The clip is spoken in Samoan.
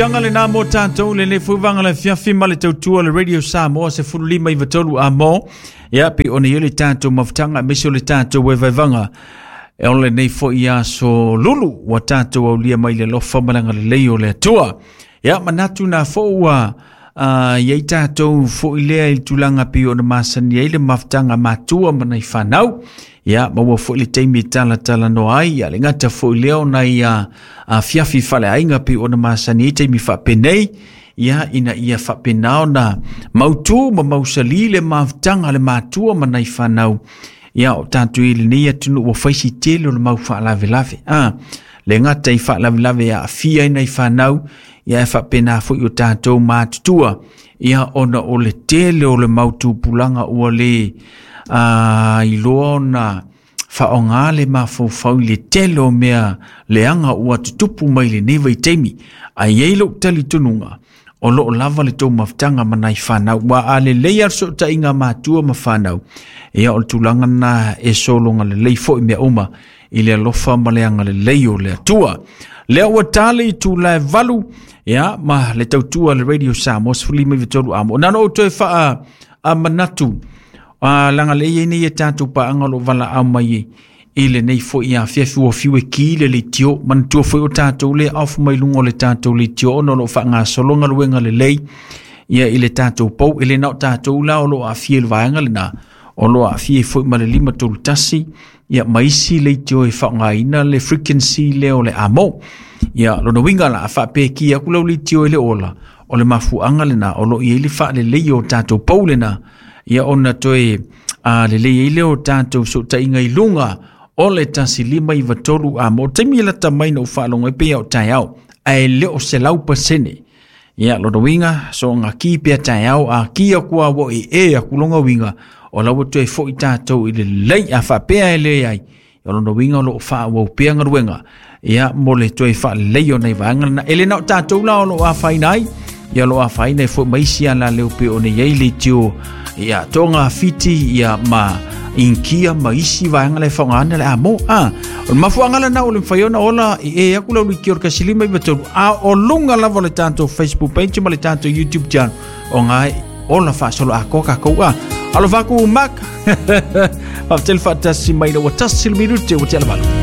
Tanga lena mo tātou le le fuvaga le fiafi ma le tautua le Radio Samoa se fulu lima i vatolu a mo. Ia, pe ona i le tātou mafutaga, me se o le tātou e vaivaga. E ole nei fo ia so lulu, ua tātou au lia mai le lofa malanga le lei o le atua. Ia, manatu nā fo ua ia i tātou fo i lea i tulaga pe ona masani ai le mafutaga matua ma nai whanau. Ia, ma ua foi le taimi e talatalanoa ai, ia le gata foi lea ona ia afiafi faleaiga pei ona masani ai taimi faapenei, ia ina ia faapena ona mautū ma mausali le mafutaga a le matua ma nai fanau. Ia o tatou i lenei atunuu ua faisi tele o le mau faalavelave. Le gata i faalavelave e aafia ai nai fanau, ia e faapena foi o tatou matutua, ia ona o le tele o le mau tupulaga ua le iloa ona faaaoga le mafaufau i le tele o mea leaga ua tutupu mai lenei vaitaimi. Ae i ai lou talitonuga, o loo lava le tou mafutaga ma nai fanau. Ua a lelei a le fesootaiga matua ma fanau, ia o le tulaga lena e sologa lelei foi mea uma i le alofa ma le agalelei o le Atua. Lea ua tali i tulae 8, ia, ma le tautua le Radio Samoa 15 amo. Na ona ou toe faa a manatu, laga le iai nei e tātou paanga o lo valaau mai i lenei foi afiafi ua fiu e ki le leitio. Manatua foi o tātou le off mai luga o le tātou leitio ona o lo o faagasolo galuega lelei ia i le tātou pou. E le na o tātou la o lo o aafia i le vaega lena, o lo o aafia ai foi ma le 531, ia ma isi leitio e faaaogaina le frequency lea o le amo. Ia lona uiga la, a faapea e ki atu lau leitio e le ola, o le mafuaaga lena o lo o i ai le faalelei o tātou pou lena, ia ona toe lelei ai lea o tātou fesootaiga i luga o le 1593 amo. O le taimi e lata mai na ou faalogo ai pei o taeao, ae le o 100%. Ia, lona uiga, so nga ki pea taeao, a ki aku a wo e e aku longa uiga, o lau toe foi tātou i le lei a faapea e le ai. O lona uiga o loo faaauau pea galuega, ia, mo le toe faalelei o nai vaega lena. E le na o tātou la o loo afaina ai, ia o loo afaina ai foi ma isi ala leo pe ona i ai leitio, ia, Tonga Fiti, ia, ma Inkia ma isi vaega le faaaogaina le amo. O le mafuaaga lena ua le mafai ona ola i e aku lau leitio o le 1593, a o luga lava o le tātou Facebook page ma le tātou YouTube channel, o ngā ola faasolo atoa kākou. Alofa aku Mark. Faafetai le faatasi mai ina ua tasi le minute ua tea le 8.